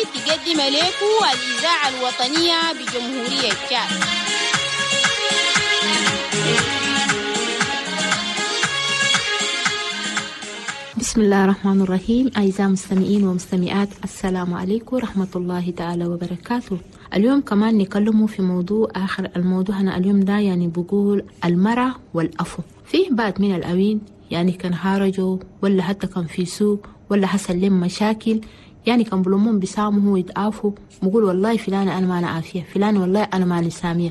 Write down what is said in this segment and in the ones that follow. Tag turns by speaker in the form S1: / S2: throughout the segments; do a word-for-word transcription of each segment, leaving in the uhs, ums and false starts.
S1: تقدم لكم الإذاعة الوطنية بجمهورية تشاد.
S2: بسم الله الرحمن الرحيم. أعزائي المستمعين ومستمعات، السلام عليكم ورحمة الله تعالى وبركاته. اليوم كمان نكلمه في موضوع آخر. الموضوع هنا اليوم ده يعني بقول المرأة والأفو. فيه بعض من الأوين يعني كان هارجوا ولا حتى كان في سوق ولا حصل لهم مشاكل، يعني كان بلومون بيسامحوا ويتعافوا، بقول والله فلانة أنا ما أنا عافية، فلانة والله أنا ما أنا سامية.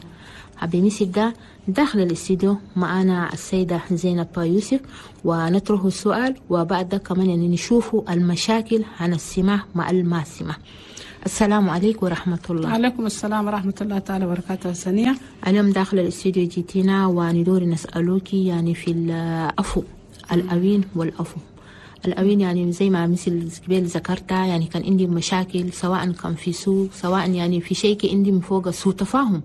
S2: حبيبي ده داخل الاستديو معنا السيدة زينب يوسف، ونطرح السؤال وبعد كمان يعني نشوفوا المشاكل عن السماع مع الماسمة. السلام عليكم ورحمة الله.
S3: عليكم السلام ورحمة الله تعالى وبركاته. سنية
S2: اليوم داخل الاستديو جيتينا وندور نسألوك يعني في الأفو، الأوين والأفو. الأوين يعني زي ما مثل قبل ذكرتها، يعني كان عندي مشاكل سواء كان في سوق سواء يعني في شيء عندي من فوق سوء تفاهم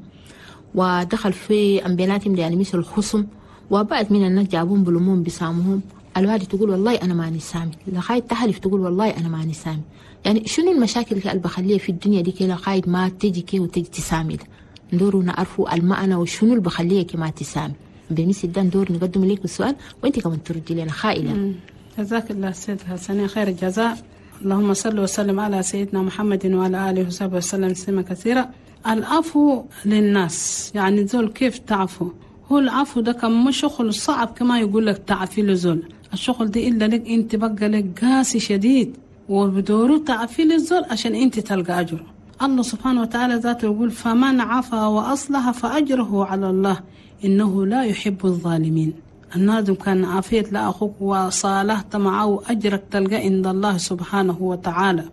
S2: ودخل في أمبيناتهم يعني مثل الخصم، وبعد من الناس جابون بلومون بسامهم. الوالد تقول والله أنا ماني سامي، لغاية تحلف تقول والله أنا ماني سامي. يعني شنو المشاكل اللي بخليها في الدنيا دي كده لغاية ما تجي كي وتجي تسامي؟ ده ندور نعرفوا المعنى وشنو اللي بخليها كي ما تسامي. بمثل ده ندور نقدم لك السؤال وانت كمان تردي لنا خائلة.
S3: جزاك الله سيد حسنين خير الجزاء. اللهم صل وسلم على سيدنا محمد وعلى آله وصحبه وسلم تسليما كثيرا. العفو للناس يعني زول كيف تعفو؟ هو العفو ده كان مش شغل صعب كما يقول لك تعفي لزول، الشغل دي إلا لك انت بقى لك قاسي شديد وبدوره تعفي للزول عشان انت تلقى أجره. الله سبحانه وتعالى ذاته يقول فمن عفا وأصلح فأجره على الله إنه لا يحب الظالمين. النادم كان عافيت لأخوك وصالحت معه أجرك تلقى عند الله سبحانه وتعالى.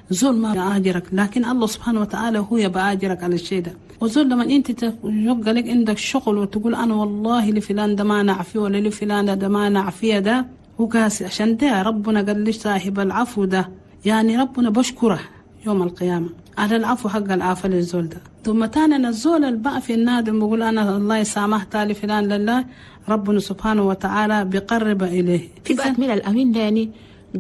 S3: زول ما أجرك لكن الله سبحانه وتعالى هو يبقى أجرك على الشيء ده. وزول لما أنت يبقى لك عندك شغل وتقول أنا والله لفلان ده ما نعفيه ولا لفلان ده ما نعفيه، ده هو قاسي. عشان ده ربنا قال لي صاحب العفو ده يعني ربنا بشكره يوم القيامة على العفو حق العفو للزول ده. ثم تانا الزول البقى في النادم بقول أنا الله يسامح تالي فلان لله، ربنا سبحانه وتعالى بيقرب إليه.
S2: في بعض من الأمين ده يعني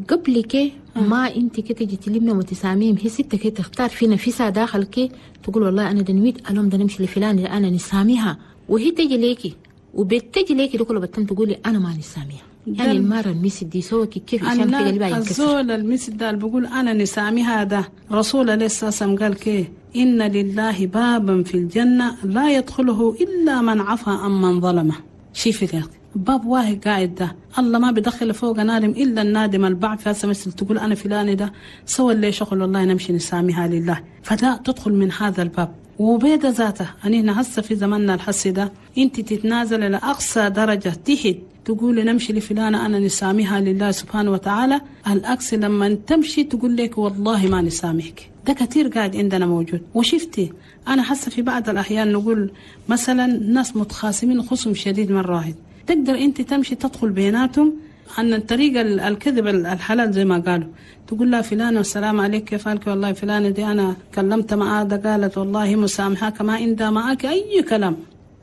S2: قبل كي ما انت كي تجي تلمنا وتساميم هي ستة كي تختار في نفسها داخل كي تقول والله انا دنويت اليوم ده نمشي لفلان اللي انا نساميها، وهي تجي ليكي وبتجي ليكي دكتور بتم تقولي انا ما نساميها. يعني المرة المسد دي سوى كيف عشان تقلبها ينكسر.
S3: الزول المسد ده اللي بقول انا نساميها ده رسول الله صلى الله عليه وسلم قال كي ان لله بابا في الجنة لا يدخله الا من عفا عن من ظلمه. شوفي يا باب واحد قاعد ده الله ما بيدخل فوق نادم إلا النادم البعث. هسه مثل تقول أنا فلان ده سوى اللي شغل والله نمشي نساميها لله، فلا تدخل من هذا الباب. وبيد ذاته أنا هسه في زماننا الحسي ده أنت تتنازل لأقصى درجة تحت تقول نمشي لفلانة أنا نساميها لله سبحانه وتعالى. الأقصى لما تمشي تقول لك والله ما نسامحك. ده كثير قاعد عندنا موجود. وشفتي أنا حاسة في بعض الأحيان نقول مثلا ناس متخاصمين خصم شديد من راهد، تقدر أنت تمشي تدخل بيناتهم عن الطريقة الكذب الحلال زي ما قالوا، تقول لها فلانة والسلام عليك كيف حالك والله فلانة دي أنا كلمت معها ده قالت والله مسامحاك ما عندها معاك أي كلام.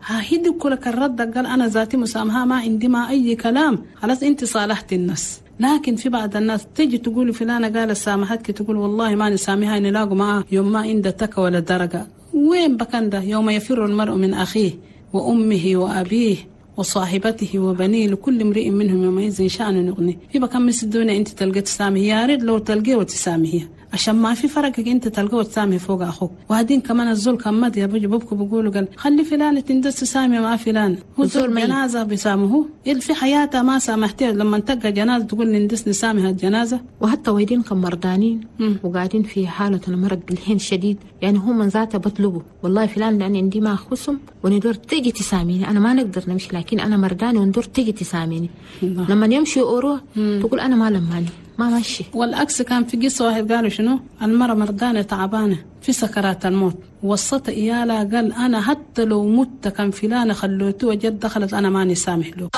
S3: ها هيدي كلك الرد قال أنا ذاتي مسامحة ما عندي ما أي كلام، خلاص أنت صالحت الناس. لكن في بعض الناس تيجي تقول فلانة قالت سامحتك تقول والله ما نسامحها نلاقوا معها يوم ما عندها تك ولا درجة. وين بكان ده؟ يوم يفر المرء من أخيه وأمه وأبيه وصاحبته وبنيه لكل امرئ منهم يومئذ شأن يغنيه. يبقى كم مسدونة انت تلقى تسامحي، يا ريت لو تلقيه وتسامحيه عشان ما في فرقك انت تلقاه وتسامحي فوق اخوك. وهدين كمان الزول كان مد يا بيجي بابكو بيقولوا قال خلي فلان تندس تسامي مع فلان، هو الزول جنازه بيسامحوه اللي في حياته ما سامحتيه لما تلقى جنازه تقول نندس نسامح الجنازه.
S2: وحتى ويدين كان مرضانين وقاعدين في حاله المرض بالحين شديد، يعني هم من ذاته بطلبوا والله فلان لان عندي ما خصم وندور تيجي تساميني انا ما نقدر نمشي لكن انا مرضاني وندور تيجي تساميني. لما يمشي اورو تقول انا ما لماني ما ماشي.
S3: والعكس كان في قصة واحد قالوا شنو المرأة مرضانة تعبانة في سكرات الموت وصت إيالها قال أنا حتى لو مت كان فلانة خلوته وجد دخلت أنا ماني سامح له.